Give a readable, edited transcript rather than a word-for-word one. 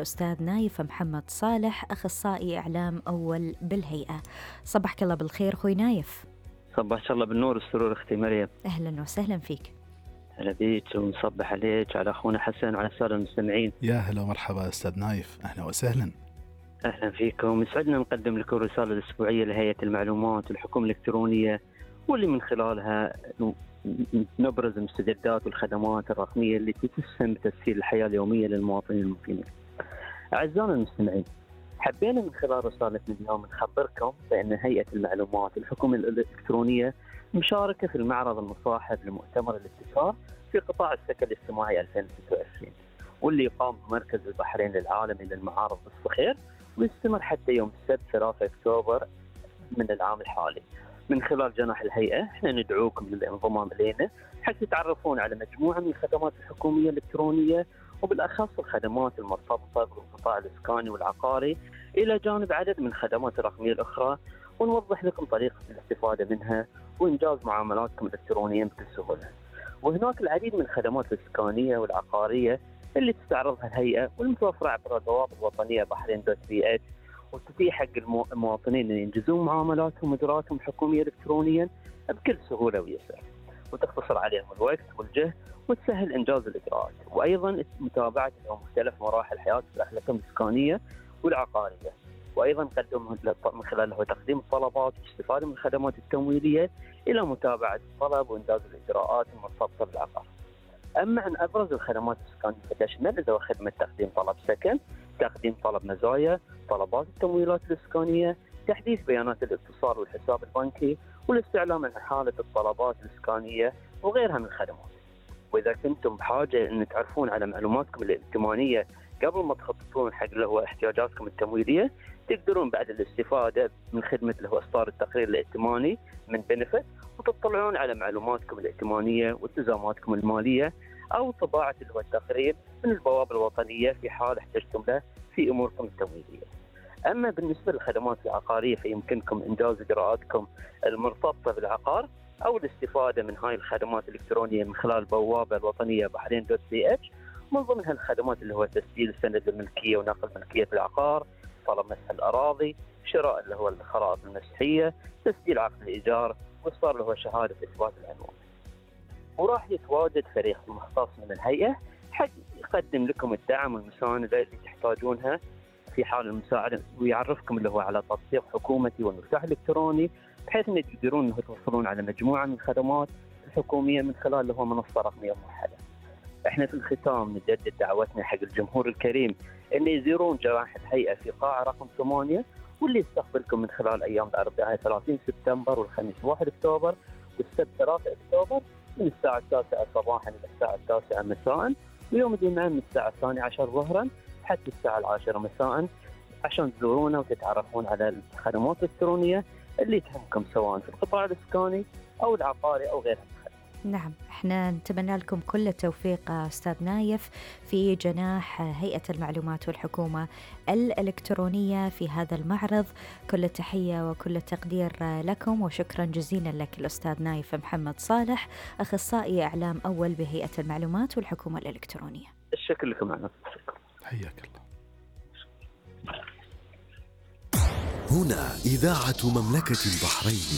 الأستاذ نايف محمد صالح، أخصائي إعلام أول بالهيئة. صبحك الله بالخير أخوي نايف. صباح الله بالنور والسرور أختي مريم. أهلا وسهلا فيك. هلا بيك ونصبح عليك وعلى أخونا حسن وعلى السادة المستمعين. يا هلا ومرحبا أستاذ نايف، أهلا وسهلا. أهلا فيكم، يسعدنا نقدم لكم الرسالة الأسبوعية لهيئة المعلومات والحكومة الإلكترونية، واللي من خلالها نبرز المستجدات والخدمات الرقمية اللي تسهم بتسهيل الحياة اليومية للمواطنين المقيمين. أعزائنا المستمعين، حبينا من خلال رسالتنا اليوم نخبركم بأن هيئة المعلومات والحكومة الإلكترونية مشاركة في المعرض المصاحب لمؤتمر الابتكار في قطاع السكن الاجتماعي 2026، واللي يقام بمركز البحرين العالمي للمعارض بالصخير، ويستمر حتى يوم السبت 3 أكتوبر من العام الحالي. من خلال جناح الهيئة احنا ندعوكم للانضمام إلينا حتى تتعرفون على مجموعة من الخدمات الحكومية الإلكترونية، وبالأخص الخدمات المرتبطة بالقطاع الإسكاني والعقاري، إلى جانب عدد من الخدمات الرقمية الأخرى، ونوضح لكم طريقة الاستفادة منها وإنجاز معاملاتكم الإلكترونية بكل سهولة. وهناك العديد من الخدمات الإسكانية والعقارية اللي تستعرضها الهيئة والمتوفرة عبر البوابة الوطنية بحرين.ch، وتتيح حق المواطنين أن ينجزون معاملاتهم وإجراءاتهم الحكومية إلكترونيا بكل سهولة ويسر، وتختصر عليهم الوقت والجهد وتسهل إنجاز الإجراءات، وأيضا متابعة مختلف مراحل حياة الأحلام الإسكانية والعقارية، وأيضا قدم من خلاله تقديم الطلبات والاستفادة من الخدمات التمويلية إلى متابعة الطلب وإنجاز الإجراءات المرتبطة بالعقار. أما عن أبرز الخدمات الإسكانية فتشمل خدمة تقديم طلب سكن، تقديم طلب مزايا، طلبات التمويلات الإسكانية، تحديث بيانات الاتصال والحساب البنكي، والاستعلام عن حالة الطلبات الإسكانية وغيرها من الخدمات. وإذا كنتم بحاجة أن تعرفون على معلوماتكم الائتمانية قبل ما تخططون حق اللي هو احتياجاتكم التمويلية، تقدرون بعد الاستفادة من خدمة اللي هو إصدار التقرير الائتماني من بنفت، وتطلعون على معلوماتكم الائتمانية والتزاماتكم المالية، أو طباعة اللي هو التقرير من البوابة الوطنية في حال احتجتم له في أموركم التمويلية. أما بالنسبة للخدمات العقارية فيمكنكم إنجاز إجراءاتكم المرتبطة بالعقار أو الاستفادة من هاي الخدمات الإلكترونية من خلال البوابة الوطنية بحرين.ch، من ضمنها الخدمات اللي هو تسجيل سند الملكية ونقل ملكية العقار، طلب مسح الأراضي، شراء اللي هو الخرائط المسحية، تسجيل عقد الإيجار، وإصدار اللي هو شهادة إثبات العنوان. وراح يتواجد فريق مختص من الهيئة حق يقدم لكم الدعم والمساندة اللي تحتاجونها في حال المساعدة، ويعرفكم اللي هو على تطبيق حكومتي والمفتاح الإلكتروني، بحيث أن تقدرون أنه توصلون على مجموعة من الخدمات الحكومية من خلال اللي هو منصة رقمية موحدة. احنا في الختام نجدد دعوتنا حق الجمهور الكريم أن يزورون جناح الهيئة في قاعة رقم 8، واللي يستقبلكم من خلال أيام الأربعاء 30 سبتمبر والخميس 1 أكتوبر والسبت 3 أكتوبر من الساعة 9 صباحا إلى الساعة 9 مساء، ويوم الجمعة من الساعة 12 ظهرا حتى الساعة 10 مساء، عشان تزورونا وتتعرفون على الخدمات الإلكترونية اللي تهمكم سواء في القطاع الإسكاني أو العقاري أو غيرها. نعم، احنا نتمنى لكم كل التوفيق أستاذ نايف في جناح هيئة المعلومات والحكومة الإلكترونية في هذا المعرض. كل التحية وكل التقدير لكم، وشكرا جزيلا لك الأستاذ نايف محمد صالح، أخصائي إعلام أول بهيئة المعلومات والحكومة الإلكترونية. الشكر لكم معنا. حياك الله. هنا إذاعة مملكة البحرين.